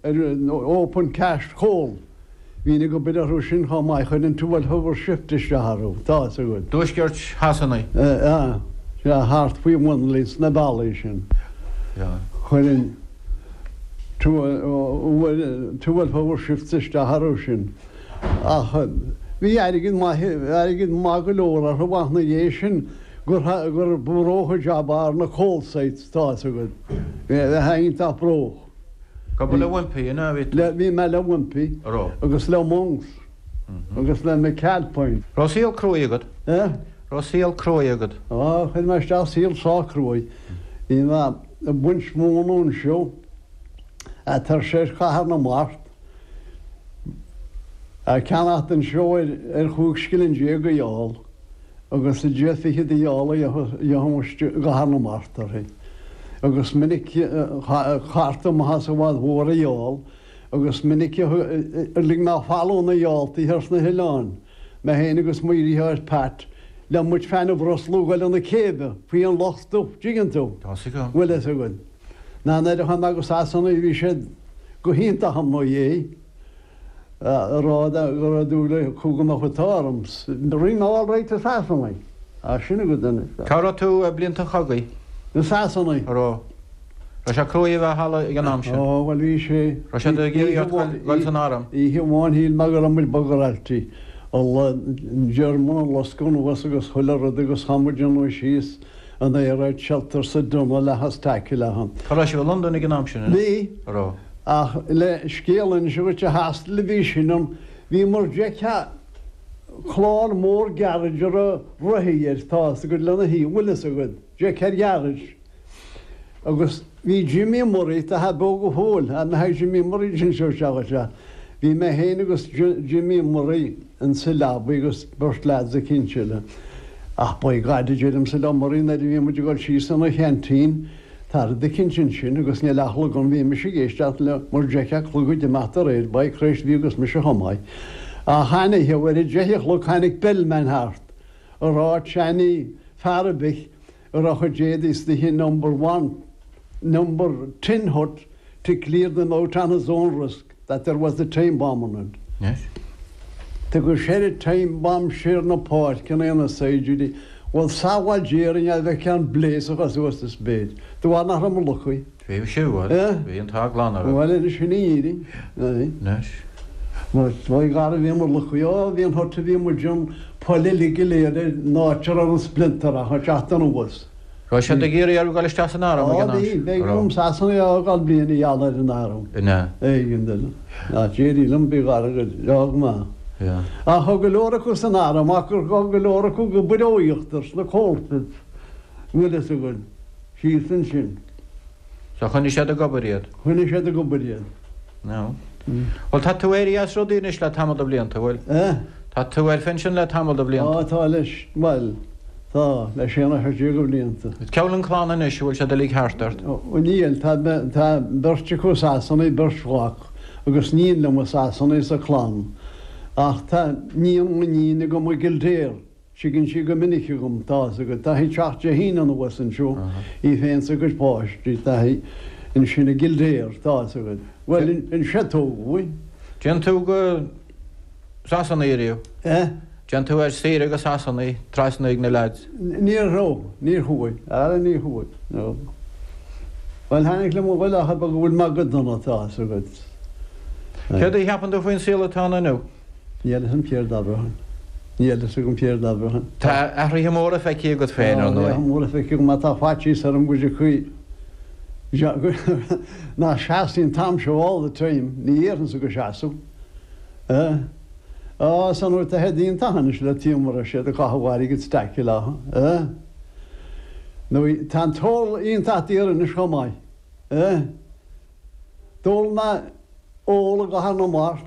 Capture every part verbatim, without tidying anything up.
ar open cast coal. Bhínn ag obair orthu sin chomh maith, chuir an twelve hour shift isteach orthu, tá fhios agat. Tuaisceart Shasana. Sea, thart faoi Winley sna bealaí sin. Chuir an twelve hour shifts isteach orthu sin. Ach bhí airgead maith, airgead maith go leor orthu ach na dhiaidh sin gur gur ba rócha jab ar na coal sites, tá fhios agat. Bheith iontach bróc. Ag obair le Wimpey, ina bhí tú? Le, bhí mé le Wimpey. A raibh? Agus le Monks. Agus le McAlpine. Raibh saol cruaidh agat? Eh? Raibh saol cruaidh agat? Á, chuir mé isteach saol sách cruaidh. Bhí mé ag baint móna anseo, tar soir Chathair na Mart, ag ceannacht anseo ar ar chúig scilling déag a eall agus deich fichead a eall a gheobhaidh i gCathair na Mart uirthi. Agus minic cárta maith as i bhfad mhór a eall agus minic a lig mé falún a ealltaí thar sna hoileáin, mé féin agus mo dheartháir Pat, le muid féin a bhroslú ag dul chun na céibhe faoi an loch dubh, dtuigeann tú? Tá fhios agam. Bhfuil fhios agat. Ná nuair a chuaigh mé go Sasana bhí siad go hiontach i mo dhiaidh. A rá go raibh dúil acu go mbeadh an t-ádh orm. Rinne mé all right i Sasana. Á, sin agat anois. Cá raibh tú i blianta an chogaidh? I Sasana. A raibh. Raibh sé cruaidh a bheith thall ag an am sin? Ó, bhuel bhí sé. Raibh siad ag iarraidh ort dul san arm? Oíche amháin shíl mé go raibh muid bugaráilte. An German ag loscadh anuas agus chuile rud agus chaith muid anuas síos an air raid shelter sa dtunnel le staic le han. Cá raibh sibh i Londain ag an am sin? Bhí. A raibh. Ach le scéal a inse dhuit a hostel a bhí sin ann, bhíomar d'fheicfeá clár mór garage a raibh rothaí air, tá fhios agat lena thaobh, bhfuil fhios agat, d'fheicfeá garage. Agus bhí Jimmy Murray, tá sé beo go fóill, an mbeidh Jimmy Murray anseo isteach anseo. Bhí mé féin agus Jimmy Murray insa leabaidh agus beirt leaids eicínt eile. Ach by God, a deirimse le Murray nuair a bhí muid ag dul síos ina cheaintín, Tá rud eicínt ansin agus níl ach clog ann, bhí mise ag éisteacht le mar d'fheicfeá clog ag imeacht aréir, by Christ bhí agus mise chomh maith. Ach tháinig, ar a deich a chlog tháinig bellman thart a rá tseanaí fear ar bith a raibh a chuid éadaí istigh in number one, number ten hut to clear them out on his own risk that there was a time bomb on it. Yes. Tugadh soir an time bomb siar na páirceanna ina saighdiúirí. Bhuel, sabháil Dia orainn a bheith ceann bléasach suas is b'fhéidir. De bharr nach raibh mo luchaí. Bhí sé, bhuel, Eh? bhí an t-ádh glan oraibh. Bhuel, anois sin í Éirinn. Aye. Anois. Mar ba ghar a bhí mo luchaí. Ó, bhí an hut a bhí muid ann, poill uilig go léir ar an áit a raibh an splinter ach ag teacht anuas. Raibh siad ag iarraidh oraibh dul isteach san arm ag Á, an am bhí, sin? b'éigean Raibh. dom Sasana a fhágáil bliain a gheall ar an arm. An ea? Éigean duine. Ná d'éirigh liom, bhí gar go leor go maith. Yeah. Ach thug go leor acu san arm ach gur thug go leor acu go Buireoíochtar sna coalpits, bhfuil fhios agat, síos ansin. So choinnigh siad ag obair iad? Choinnigh siad ag obair iad. No. Bhuel, tá tú éirithe as rudaí anois le tamall de bhlianta, bhfuil? Eh? Tá tú ar phinsean le tamall de bhlianta. Á, tá leis, bhuel, tá, le sé nó seacht déag de bhlianta. Cá bhfuil an chlann anois, an bhfuil siad uilig thart ort? Ó, níl, tá, tá beirt acu i Sasana, beirt mhac agus níon liom i Sasana sa chlann. Ach tá níon mo níne agam i gKildare, tigeann sí go minic chugam, tá fhios agat, tá sí ag teacht Dé hAoine anuas anseo, í féin 's a cuid páistí, tá sí ansin i gKildare, tá fhios agat. Bhuel, anseo a tógadh í. Téann tú go Sasana ariamh? Eh? Téann tú ar saoire go Sasana, trasna ag na leaids? Níor raibh, níor chuaigh, ara níor chuaigh, no. Bhuel, tháinig liom a ghoil ach go bhfuil mé go dona, tá fhios agat. Céard a cheapann tú faoin saol atá ann inniu? Níl fhios agam céard a abróinn. Níl fhios agam céard a abróinn. Tá athruithe móra feicthe agat féin, ar Tá ndóigh. athruithe móra feicthe agam, má tá faitíos orm go dtiocfaidh ná seasfaidh an t-am seo all the time, ní dhéarfainnse go seasfadh. Eh? Á, san uair tá siad iontach anois le tíomar siad ag caitheamh airgid staic leo. Eh? Nó tá an t-ól iontach daor anois chomh maith. Eh? D'ól mé ól i gCathair na Mart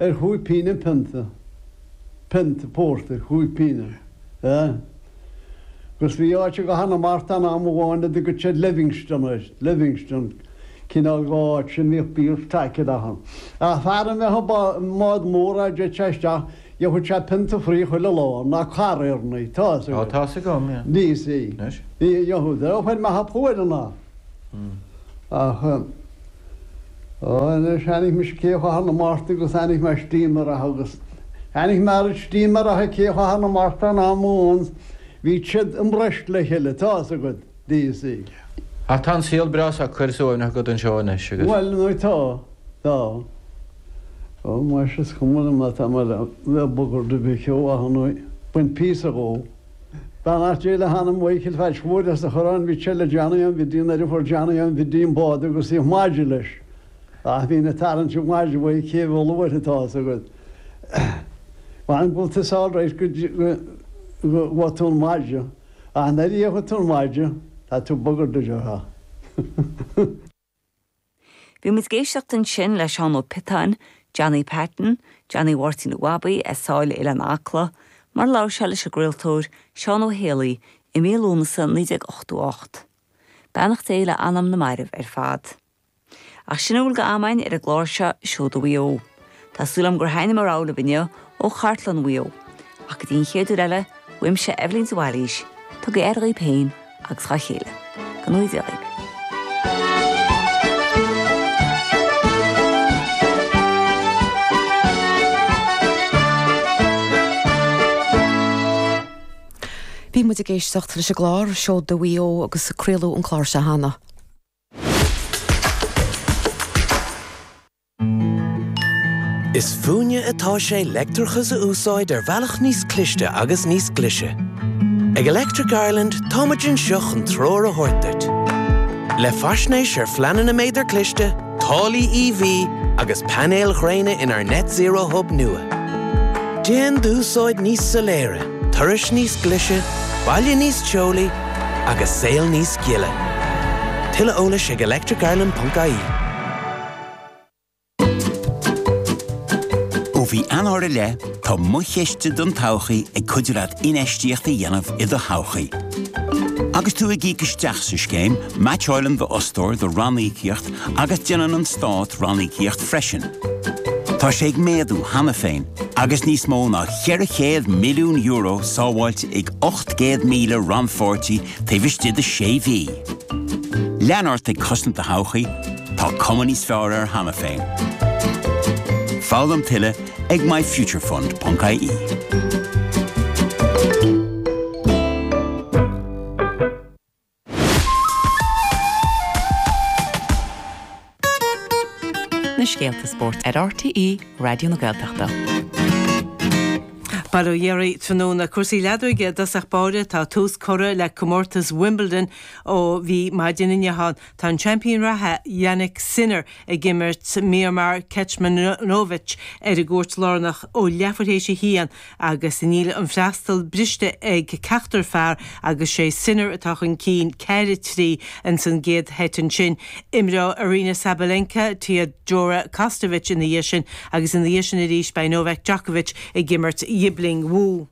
ar chúig pingin an pionta. Pionta pórtair, chúig pingin. Eh? Agus bhí áit i gCathair na Mart ann am amháin a dtugadh siad Livingstone air, Livingstone, cineál de áit sin bhíodh beer staic ann. Ach fear a mbeadh i mbád mór á dtéadh sé isteach, gheobhadh sé pionta fraoich chuile lá, ná cara Éireannaigh, tá fhios Ó, agat. tá fhios agam, yeah. Bhí sí. Anois. Bhí, gheobhadh. Ó, chuir mé thar cuair an. Ach Anois tháinig mise Cé Chathair na Mart agus tháinig mé steamer agus tháinig mé ar steamer a Cé Chathair na Mart an am amháin bhí siad i mbreis le chéile tá a fhios agat D C. Ach tá an saol breá socair suaimhneach agat anseo anois agus. Bhuel nó tá tá. Ó mar is cuma liom tá mé le bogadh de bheith nó bain píosa dhó. Beannacht Dé le hanam Mhichíl Phatch Mhóir as a chorrán bhí sé le Johnny an bhí díon ar fuair Johnny an bhí díon bád agus í maide leis. Ach bhí na tarraingt maide bhuaidh cé bhfuil atá a fhios agat. Bhain bhfuil tú all right go go tú an maide ach nuair a dhéanfaidh tú an maide tá tú bugger de ha. Bhí muid ag éisteacht ansin le Seán Ó Piotáin, Johnny Patton, Johnny Mháirtín Bhabaí as Sáile Oileán Acla, mar labhair sé leis an gcraoltóir Seán Ó Héalaí i mí Lúnasa naoi déag ochtó ocht. Beannacht Dé le anam na marbh ar fad. Ach sin a bhfuil d'am againn ar an gclár seo Seoda Mhaigh Eo. Tá súil agam gur thaithin mo rogha libh inniu ó chartlann Mhaigh Eo. Ach go dtí an chéad uair eile, uaimse Eibhlín de Bhailís, tugaigí aire dhaoibh féin agus dá chéile. Go ngnóthaí Dia dhaoibh. Bhí muid ag éisteacht leis an gclár Seoda Mhaigh Eo agus craoladh an clár seo cheana. Is fúinne atá sé leictreachas a úsáid ar bhealach níos cliste agus níos glise. Ag Electric Ireland táimid anseo chun treoir a thabhairt duit. Le faisnéis ar phleananna méadar cliste, táillí E V agus painéil ghréine inár Net Zero Hub nua. Déan d'úsáid níos soiléire, turais níos glise, baile níos teolaí agus saol níos gile. Tuilleadh eolais ag electricireland ponc I E. Ó mhí Eanáir i leith, tá Mo Chiste don Todhchaí ag cuidiú leat infheistíocht a dhéanamh i do thodhchaí. Agus tú ag íoc isteach sa scéim, meaitseálann d'fhostóir do ranníocaíocht agus déanann an stát ranníocaíocht freisin. Tá sé ag méadú cheana féin, agus níos mó ná ceithre chéad milliún euro sábháilte ag ocht gcéad míle rannpháirtí taobh istigh de sé mhí. Lean ort ag cosaint do thodhchaí, tá cuma níos fearr air cheana féin. Foghlaim tuilleadh ag myfuturefund ponc I E. Na scéalta spóirt ar R T É Raidió na Gaeltachta. Bail ó Dhia oraibh tráthnóna. Cúrsaí leadóige i dtosach báire. Tá tús curtha le comórtas Wimbledon ó bhí maidin inniu ann. Tá an seaimpín reatha Jannik Sinner ag imirt Miomir Kecmanovic ar an gcúirt lárnach ó leathuair théis a haon agus níl an freastal briste ag ceachtar fear agus sé Sinner atá chun cinn ceathair trí in san gcéad sheit ansin. Imreoidh Aryna Sabalenka Teodora Kostovic ina dhiaidh sin agus ina dhiaidh sin arís beidh Novak Djokovic ag imirt Yibing Wu.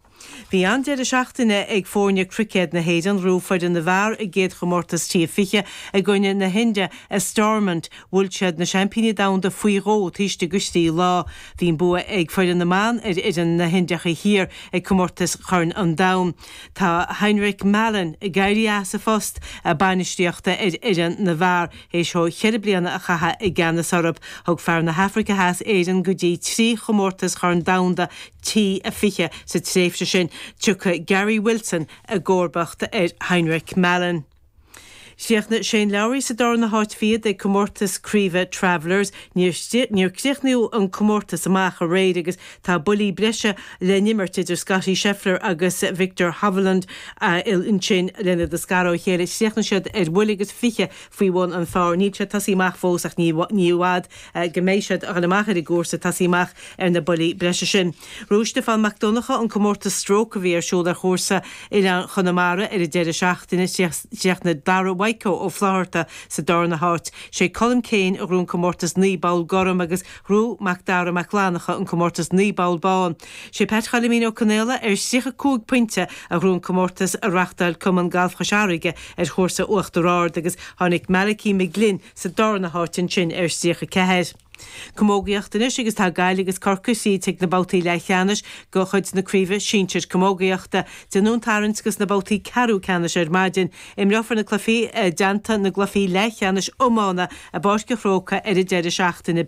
Bhí an-deireadh seachtaine ag foirne cruicéad na hÉireann. Ghnóthaigh foireann na bhfear a gcéad chomórtas T fiche i gcoinne na hIndia i Stormont. Bhuail siad na seaimpíní domhanda faoi dhó taobh istigh de thrí lá. Bhí an bua ag foireann na mban ar fhoireann na hIndiacha Thiar ag comórtas Chorn an Domhain. Tá Heinrich Malan ag éirí as a phost bainistíochta ar fhoireann na bhfear théis dó ceithre bliana a chaitheamh i gceannas orthu. Thug fear na hAfraice Theas Éireann go dtí trí chomórtas Chorn Domhanda T a fiche sa tréimhse sin. Tiocfaidh Gary Wilson i gcomharbacht ar Heinrich Malan. Chríochnaigh Shane Lowry sa darna háit fichead ag comórtas craoibhe Travelers. Níor críochnaíodh an comórtas amach aréir agus tá buillí breise le n-imirt idir Scottie Scheffler agus Viktor Hovland ansin lena scaradh ó chéile. Chríochnaigh siad ar bhuille agus fiche faoi bhun an phar. Níl sé tosaithe amach fós ach ní ní bhfad go mbeidh siad ag dul amach ar an gcúrsa tosaí amach ar na buillí breise sin. Bhuaigh Stiofán Mac Donncha an comórtas stroke a bhí ar siúl ar chúrsa Oileán Chonamara ar an deireadh seachtaine. Chríochnaigh Dara Waiko ó Flatharta sa darna háit. Sé Colm Kane a ghnóthaigh an comórtas naoi bpoll gorm agus ghnóthaigh Mac Dara Mac Lanacha an comórtas naoi bpoll bán. Sé Pat Choilimín Ó Conaola ar tríocha cúig pointe a ghnóthaigh an comórtas a reáchtáil Cumann Gailf Chois Fharraige ar chúrsa Uachtar Ard agus tháinig Malachy McGlynn sa darna háit ansin ar tríocha ceathair. Camógaíocht anois agus tá Gaillimh agus Corcaigh tríd chuig na babhtaí leathcheannais de chuid na Craoibhe Sinsir Camógaíochta. Déanadh an tarraingt dos na babhtaí ceathrú ceannais ar maidin. Imreofar na cluichí i dteannta na gcluichí leathcheannais iomána i bPáirc an Chrócaigh ar an deireadh seachtaine.